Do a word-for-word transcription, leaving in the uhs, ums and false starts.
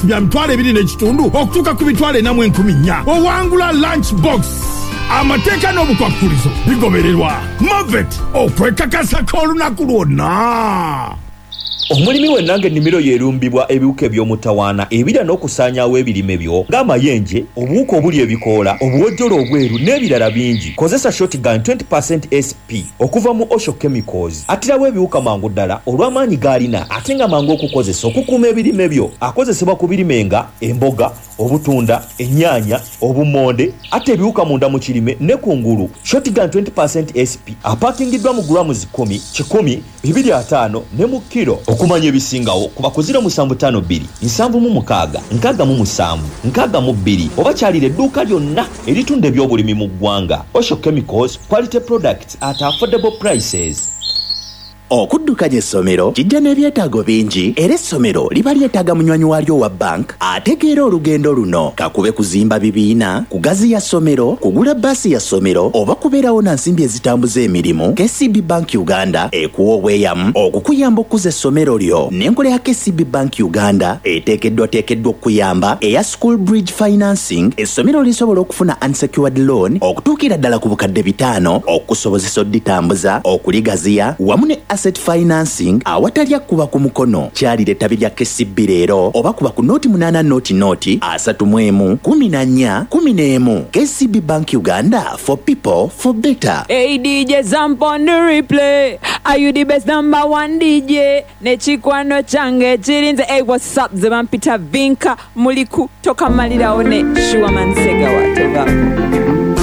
Bya mitwalo ebiri n'ekitundu okutuuka ku mitwalo ena mu enkumi nnya owangula lunch box. Amateeka n'obukwakkulizo bigobererwa. Movit, okwekakasako olunaku lwonna. Omulimi wenna ng'ennimiro yeerumbibwa ebiwuka eby'omutawaana ebirya n'okusaanyaawo ebirime byo ng'amayenje, obuwuka obulya ebikoola, obuwojjolo obweru n'ebirala bingi, kozesa Shotgun twenty percent S P okuva mu Osho Chemicals. Attirawo ebiwuka mangu ddala olw'amaanyi g'alina ate nga mangu okukozesa okukuuma ebirime byo. Akozesebwa ku birime nga emboga, obutunda, ennyaanya, obummonde, atta ebiwuka munda mu kirime ne ku ngulu. Shotgun twenty percent S P apaakingiddwa mu grams kkumi, kikumi, bibiri ataano ne mu kkiro. Okumanya ebisingawo kuba ku ziro musanvu ttaano bbiri nsanvu mu mukaaga nkaaga mu musanvu nkaaga mu bbiri oba kyalira edduuka lyonna eritunda ebyobulimi mu ggwanga. Osho Chemicals, quality products at affordable prices. Okuddukanya essomero kijja n'ebyetaago bingi, era essomero liba lyetaaga munywanyi waalyo owa bank ategeera olugendo luno, kakube kuzimba bibiina, kugaziya ssomero, kugula bbaasi ya ssomero oba kubeerawo na nsimbi ezitambuza emirimu. K C B Bank Uganda ekuwa obweyamu okukuyamba okukuza essomero lyo. N'enkola ya K C B Bank Uganda eteekeddwateekeddwa okukuyamba eya School Bridge Financing, essomero lisobola okufuna unsecured loan okutuukira ddala ku bukadde bitaano okusobozesa odditambuza, okuligaziya, wamu ne asset financing awatali akkuba ku mukono. Kyalira ettabi lya K C B leero oba kuba ku nooti munaana nooti nooti asatu mu emu kumi na nnya kumi n'emu. K C B Bank Uganda, for people, for better. Hey D J Zamp on the replay. Are you the best number one D J? Nechikwano change chirinze. Hey, what's up? Zebampita Vinka muliku toka malirawo ne Shuaman Segawa tovako.